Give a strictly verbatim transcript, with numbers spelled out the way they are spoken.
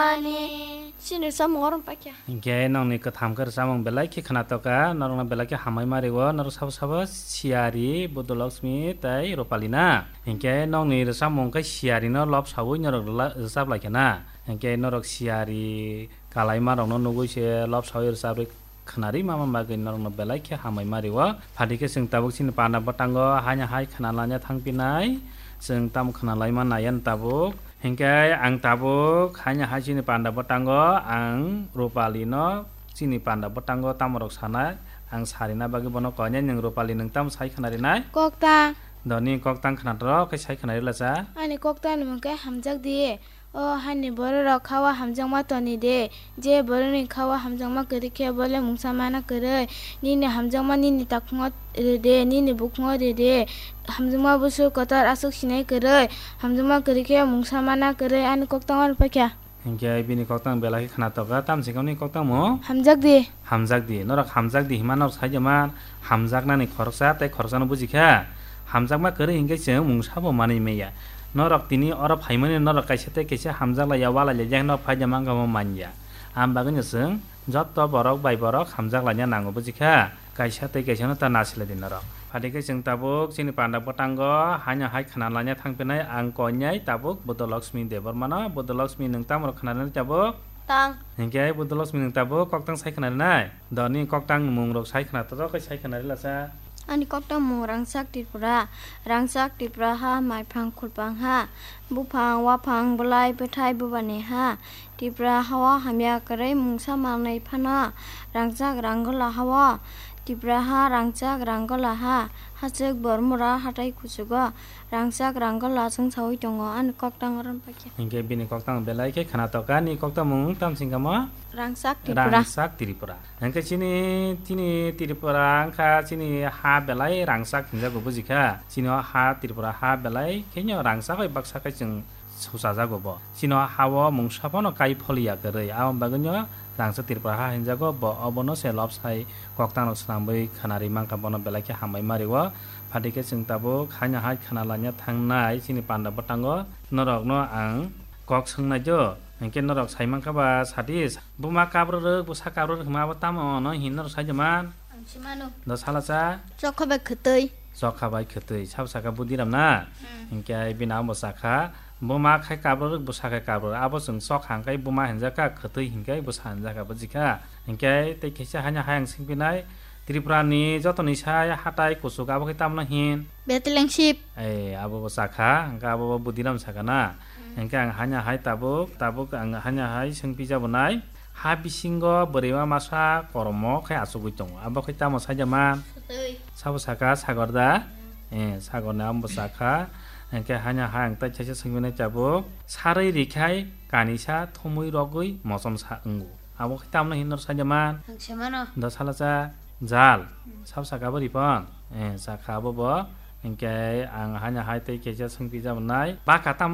Ani. Chini samung orom pakya. Hinkhe nokni kwtham khe rwchapmung belai khe khwnatok kha, norokno belai khe hambai ma rio, norok sabo sabo Siyari, Buddha Lakshmi tei Rupali na. Hinkhe nokni rwchapmung khe Siyari no lobsaui norok rwla-, rwchap lai kha na. Hinkhe norok Siyari kalaima rokno nugui se lobsaui rwchap rwi khwnari mama bagwi norokno belai khe hambai ma rio. Phati khe chwng tabuk chini panda bwtango haino hai khwnalanya thangpinai. Chwng tamo khwnalaima naiya tabuk. Hinkhe ang tabuk haino hai chini panda bwtango ang Rupali no chini panda bwtango tamo rok sanai ang sarina bagwi bono koinai nwng Rupali nwng tamo sai khwnarinai. Koktang. Doni koktang khwnatok khe sai khwnari lacha. Ani koktang ni mung khe hamjak di. O hani bororok kha-o hamjakma toni de, je borokni kha-o hamjakma kwrwi khe bo le mungsa mana kwrwi. Nini hamjakma nini takhungo rw de, nini bukhungo rw de. Hamjakma busu kotor aswk sinai kwrwi, hamjakma kwrwi khe mungsa mana kwrwi ani koktang oro paikha. Hinkhe bini koktang belai khe khwnatok kha, tamoni koktang mo? Hamjak di. Hamjak di, norok hamjak di hima norok sai jama hamjaknani khoroksa tei khoroksano buji kha. Hamjakma kwrwi hinkhe chwng mungsa bo manwi manya. Norok tini oro phaimani norok kaisa tei kaisa hamjak laiya, walai laijak norok phai jama wngkha bo manya. Am bagwino chwng joto borok bai borok hamjak laina nango buji kha. Kaisa tei kaisa no ta nasilai di norok. Phati khe chwng tabuk chini panda bwtango haino hai khwna laina thangpinai ang koinai tabuk Buddha Lakshmi Debbarma no. Buddha Lakshmi nwng tamo rok khwna rinai tabuk? Tang. Hinkhe Buddha Lakshmi nwng tabuk koktang sai khwna rinai? Doni koktang mung rok sai khwna, to khe sai khwna ri lasa. Ani koktang mung Rangchak Tripura. Rangchak Tripura ha, maiphang khulpang ha, buphang waphang bwlai bwthai bubani ha. Tripura ha-o hamya kwrwi mungsa manwi phano Rangchak Ranggola ha-o. Tripura ha Rangchak Ranggola ha. Hachwk Bormura hatai kuchugo Rangchak Ranggola chwngsawi tongo. Ani koktang oro paikha. Hinkhe bini koktang belai khe khwnatok kha, ni koktang mung tamsing kamo? Rangchak Tripura. Rangchak Tripura. Hinkhe chini, chini Tripura wngkha chini ha belai rangchak hinjago bujikha. Chini o ha Tripura ha belai khenyo rangchak bai baksa khe chwng suchajago bo. Chini o ha-o mungsa phano kai pholiya kwrwi. Aboni bagwino Rangchak Tripura ha hinjago bo, obono se lobsai koktang rok swnamwi khwnari mankha, bono belai khe hambai ma rio. Phati khe chwng tabuk haino hai khwna laina thangnai chini panda bwtango norokno ang kok swngnai do. Hinkhe norok sai mankha ba sadi buma kabrorok, bwsa kabrorok hwnma abo tamo ono hin norok sai de man? Ang si mano. Do sala cha? Chokha bai khwtwi. Chokha bai khwtwi. Sabo saka Budiram na? Hmm. Hinkhe bini abo sakha, buma khai kabrorok, bwsa khai kabrorok. Abo chwng chokha hwnkhe buma hinjakha, khwtwi hinkhe bwsa hinjakha, bujikha? Hinkhe tei kisa haino hai ang swngpinai, Tripura ni joto ni sai hatai kuchuk abo khe tamno hin? Betlengsip. Ei, abo bo sakha, hwnkhe abo bo Budiram sakha na? Hmm. Hwnkhe ang hanya hai tabuk, tabuk ang hanya hai swngpijabonai. Ha bisingo bwrwima masa koromo khe achugwi tongo. Abo khe tamo saida man? Sotwi. Sabo sakha Sagor da? Hmm. Eh, Sagor ni amo bo sakha. Hwnkhe hanya hai ang tai chaisa swngpinai tabuk. Sarwi rikhai kanisa thumwi rogwi mochom sa wngo. Abo khe tamno hinwi norok saida man? Ang se mano. Do sala cha jal. Hmm. Sabo sakha bo ripon? Eh, sakha abo bo. Hwnkhe ang hanya hai tei kisa swngpijabonai. Baka tamno